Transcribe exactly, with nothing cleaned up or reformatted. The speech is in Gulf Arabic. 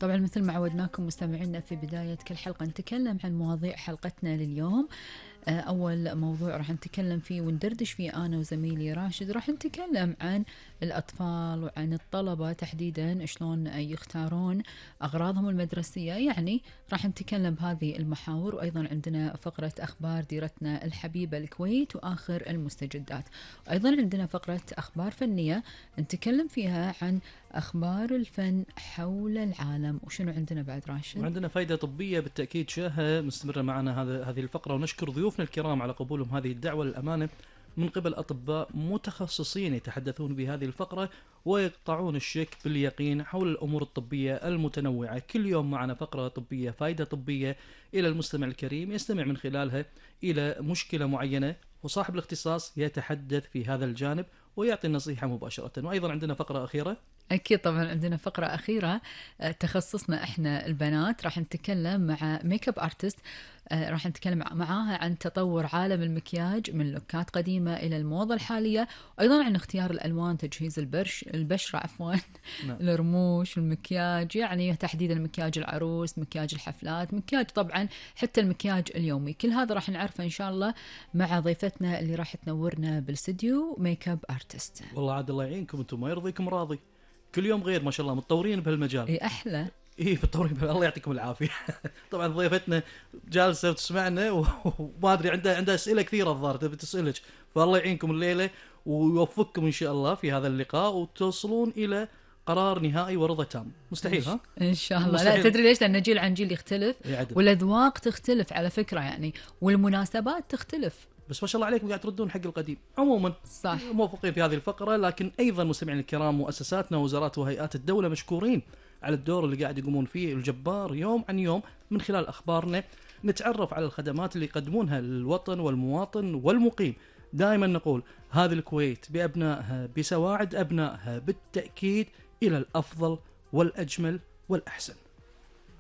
طبعا مثل ما عودناكم مستمعينا في بداية كل حلقة نتكلم عن مواضيع حلقتنا لليوم. أول موضوع راح نتكلم فيه وندردش فيه أنا وزميلي راشد، راح نتكلم عن الأطفال وعن الطلبة تحديدا شلون يختارون أغراضهم المدرسية، يعني راح نتكلم بهذه المحاور. وأيضا عندنا فقرة أخبار ديرتنا الحبيبة الكويت وآخر المستجدات، وأيضا عندنا فقرة أخبار فنية نتكلم فيها عن أخبار الفن حول العالم. وشنو عندنا بعد راشد؟ وعندنا فائدة طبية بالتأكيد شاهة مستمرة معنا هذا هذه الفقرة، ونشكر ضيوفنا الكرام على قبولهم هذه الدعوة للأمانة من قبل أطباء متخصصين يتحدثون بهذه الفقرة ويقطعون الشك باليقين حول الأمور الطبية المتنوعة. كل يوم معنا فقرة طبية، فائدة طبية إلى المستمع الكريم يستمع من خلالها إلى مشكلة معينة، وصاحب الاختصاص يتحدث في هذا الجانب ويعطي النصيحة مباشرة. وأيضا عندنا فقرة أخيرة، أكيد طبعا عندنا فقرة أخيرة تخصصنا إحنا البنات، راح نتكلم مع ميك اب ارتست، راح نتكلم معاها عن تطور عالم المكياج من لوكات قديمة إلى الموضة الحالية، وأيضا عن اختيار الألوان، تجهيز البرش البشرة عفوا نعم. الرموش، المكياج يعني تحديدا مكياج العروس، مكياج الحفلات، مكياج طبعا حتى المكياج اليومي. كل هذا راح نعرفه إن شاء الله مع ضيفتنا اللي راح تنورنا بالاستديو، ميك اب ارتست. والله عاد الله يعينكم، انتم ما يرضيكم راضي، كل يوم غير ما شاء الله، متطورين بهالمجال. اي احلى ايه متطورين بها. الله يعطيكم العافيه. طبعا ضيفتنا جالسه وتسمعنا وما ادري عندها عندها اسئله كثيره الظاهر تبي تسالك، فالله يعينكم الليله ويوفقكم ان شاء الله في هذا اللقاء وتوصلون الى قرار نهائي ورضا تام. مستحيل ها ان شاء الله. مستحيل. لا تدري ليش؟ لان جيل عن جيل يختلف يعدل. والاذواق تختلف على فكره يعني، والمناسبات تختلف، بس ما شاء الله عليكم قاعد تردون حق القديم. عموما صح، موفقين في هذه الفقره. لكن ايضا مستمعين الكرام، مؤسساتنا ووزارات وهيئات الدوله مشكورين على الدور اللي قاعد يقومون فيه الجبار يوم عن يوم. من خلال اخبارنا نتعرف على الخدمات اللي يقدمونها للوطن والمواطن والمقيم. دائما نقول هذه الكويت بابنائها بسواعد ابنائها بالتاكيد الى الافضل والاجمل والاحسن.